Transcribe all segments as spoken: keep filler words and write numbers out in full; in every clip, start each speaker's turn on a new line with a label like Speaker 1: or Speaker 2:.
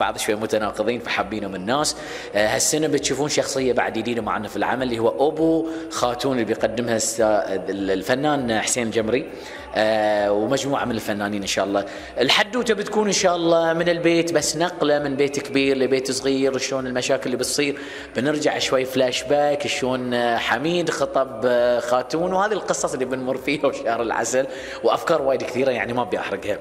Speaker 1: بعض شوي متناقضين فحابينهم الناس. هالسنه بتشوفون شخصيه بعد جديده معنا في العمل اللي هو ابو خاتون اللي بيقدمها الفنان حسين الجمري ومجموعه من الفنانين ان شاء الله. الحدوته بتكون ان شاء الله من البيت، بس نقله من بيت كبير لبيت صغير، شلون المشاكل اللي بتصير، بنرجع شوي فلاش باك شلون حميد خطب خاتون وهذه القصص اللي بنمر فيها وشهر العسل وافكار وايد كثيره يعني ما ابي احرقها.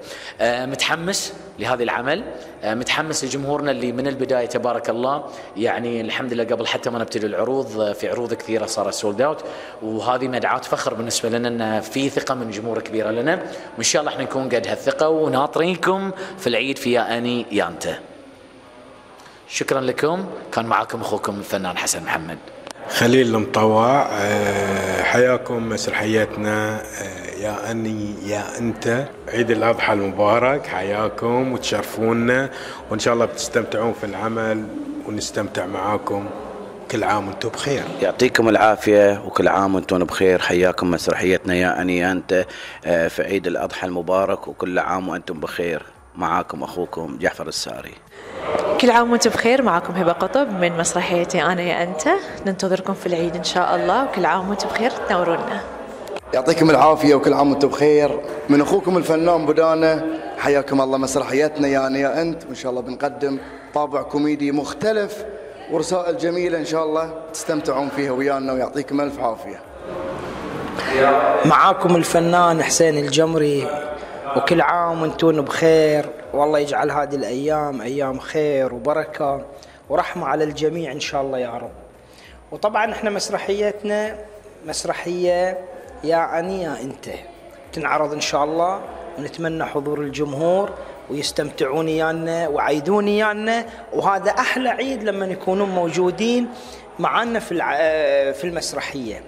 Speaker 1: متحمس لهذا العمل، متحمس لجمهورنا اللي من البدايه تبارك الله يعني الحمد لله قبل حتى ما نبتدي العروض في عروض كثيره صارت سولد اوت، وهذه مدعاة فخر بالنسبه لنا ان في ثقه من جمهور كبيره لنا، وان شاء الله احنا نكون قد هالثقه وناطرينكم في العيد في يا اني يا انت. شكرا لكم، كان معكم اخوكم الفنان حسن محمد.
Speaker 2: خليل المطوع، حياكم مسرحيتنا يا أني يا أنت، عيد الأضحى المبارك، حياكم وتشرفونا وإن شاء الله بتستمتعون في العمل ونستمتع معاكم. كل عام وانتم بخير.
Speaker 3: يعطيكم العافية وكل عام وانتم بخير. حياكم مسرحيتنا يا أني يا أنت في عيد الأضحى المبارك وكل عام وانتم بخير. معاكم أخوكم جعفر الساري.
Speaker 4: كل عام وانتم بخير. معكم هبة قطب من مسرحيتي أنا يا أنت. ننتظركم في العيد إن شاء الله، وكل عام وانتم بخير تنورونا.
Speaker 5: يعطيكم العافية وكل عام وانتم بخير. من أخوكم الفنان بدانة، حياكم الله مسرحيتنا يا أنا يا أنت، وإن شاء الله بنقدم طابع كوميدي مختلف ورسائل جميلة إن شاء الله تستمتعون فيها ويانا، ويعطيكم ألف عافية.
Speaker 6: معاكم الفنان حسين الجمري، وكل عام وانتم بخير، والله يجعل هذه الأيام أيام خير وبركة ورحمة على الجميع إن شاء الله يا رب. وطبعا احنا مسرحيتنا مسرحية يا أني يا أنت تنعرض إن شاء الله، ونتمنى حضور الجمهور ويستمتعون يانا وعيدون يانا، وهذا أحلى عيد لما يكونون موجودين معنا في في المسرحية.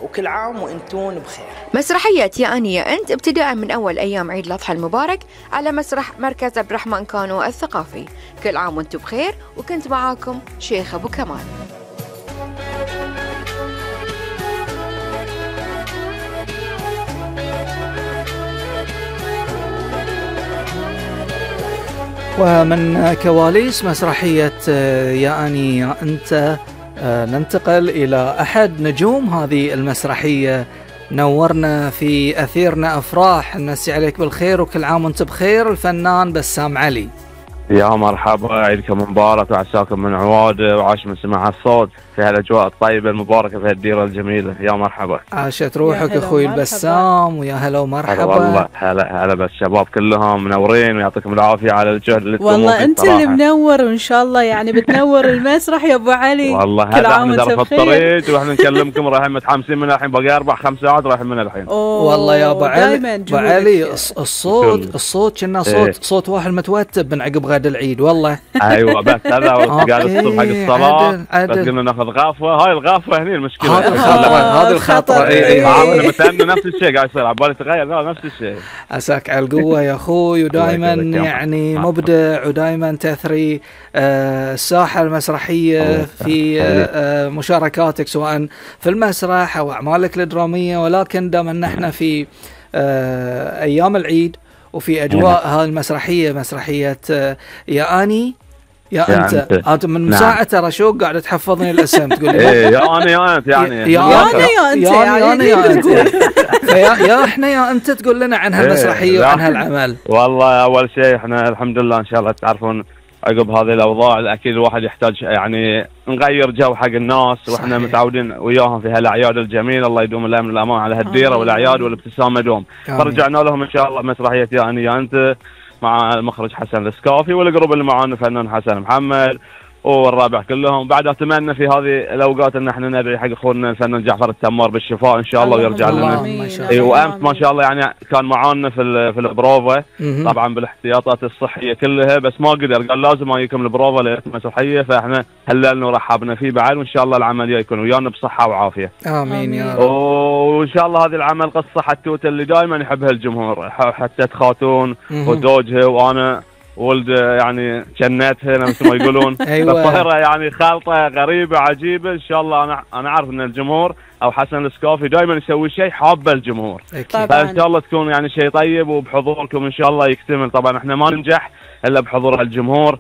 Speaker 6: وكل عام وانتم بخير.
Speaker 7: مسرحية يا أني يا أنت ابتداء من أول أيام عيد الأضحى المبارك على مسرح مركز عبد الرحمن كانو الثقافي. كل عام وانتم بخير، وكنت معاكم شيخ أبو كمال.
Speaker 8: ومن كواليس مسرحية يا أني يا أنت ننتقل إلى أحد نجوم هذه المسرحية. نورنا في أثيرنا أفراح، نمسي عليك بالخير وكل عام وانت بخير، الفنان بسام علي.
Speaker 9: يا مرحبا، عيدكم مبارك وعساكم من عواده وعاش من سماع الصوت في هالأجواء الطيبة المباركة في هالديرة الجميلة. يا مرحبا.
Speaker 8: عاشت روحك أخوي البسام، ويا هلا ومرحبا.
Speaker 9: والله هلا هلا بالشباب كلهم منورين ويعطيكم العافية على الجهد اللي تقومون فيه.
Speaker 10: والله أنت اللي منور، وإن شاء الله يعني بتنور المسرح يا أبو علي.
Speaker 9: والله هذا احنا في الطريق واحنا نكلمكم رايحين متحمسين من الحين، باقي أربع خمس ساعات رايحين من الحين.
Speaker 8: والله يا أبو علي أبو علي الصوت الصوت كنا صوت ايه. صوت واحد متوتب من عقب غد العيد والله.
Speaker 9: أيوة بس هذا قال الصبح حق الصلاة بس قلنا ناخذ غافوة. هاي الغافوة هني المشكلة.
Speaker 8: هذا الخطر هذا الخطر.
Speaker 9: اي اي متأمل نفس الشيء قاعد يصير، عبالي تغير نفس الشيء.
Speaker 8: عساك على القوة يا أخوي، ودائما يعني مبدع ودائما تثري الساحة المسرحية في مشاركاتك سواء في المسرح أو أعمالك الدرامية، ولكن دام نحن في أيام العيد وفي أجواء هذه المسرحية مسرحية يا أني يا, يا أنت. أنت أنت من مساعة ترى شو قاعد تحفظني الاسم تقول لي
Speaker 9: إيه يا أنا يا أنت يعني
Speaker 8: يا أنا يا أنت يا أنا يا أنت يا يا إحنا يا أنت تقول لنا عن هالمسرحية وعن هالعمل.
Speaker 9: والله أول شيء إحنا الحمد لله إن شاء الله تعرفون عقب هذه الأوضاع أكيد الواحد يحتاج يعني نغير جو حق الناس، وإحنا متعودين وياهم في هالأعياد الجميلة. الله يدوم الأمن والأمان على هالديرة والأعياد والابتسامة دوم. فرجعنا لهم إن شاء الله مسرحية يا أني يا أنت مع المخرج حسن السكافي والجروب اللي معانا الفنان حسن محمد والرابع كلهم. بعد اتمنى في هذه الاوقات ان احنا ندعي حق اخونا الفنان جعفر التمار بالشفاء ان شاء الله ويرجع لنا. اي وامس ما شاء الله يعني كان معانا في في البروفا طبعا بالاحتياطات الصحيه كلها، بس ما قدر قال لازم اجيكم البروفا للمسرحيه، فاحنا هللنا ورحبنا فيه بعد، وان شاء الله العمليه يكون ويانا بصحه وعافيه.
Speaker 8: امين يا رب.
Speaker 9: وان شاء الله هذه العمل قصه حتوته اللي دائما يحبها الجمهور، حتى خاتون وزوجها وانا ولد يعني جناتها مثل ما يقولون.
Speaker 8: أيوة.
Speaker 9: الظاهرة يعني خالطة غريبة عجيبة ان شاء الله. انا انا عارف ان الجمهور او حسن السقافي دائما يسوي شيء حابه الجمهور. فان شاء الله تكون يعني شيء طيب، وبحضوركم ان شاء الله يكتمل. طبعا احنا ما ننجح الا بحضور الجمهور اللي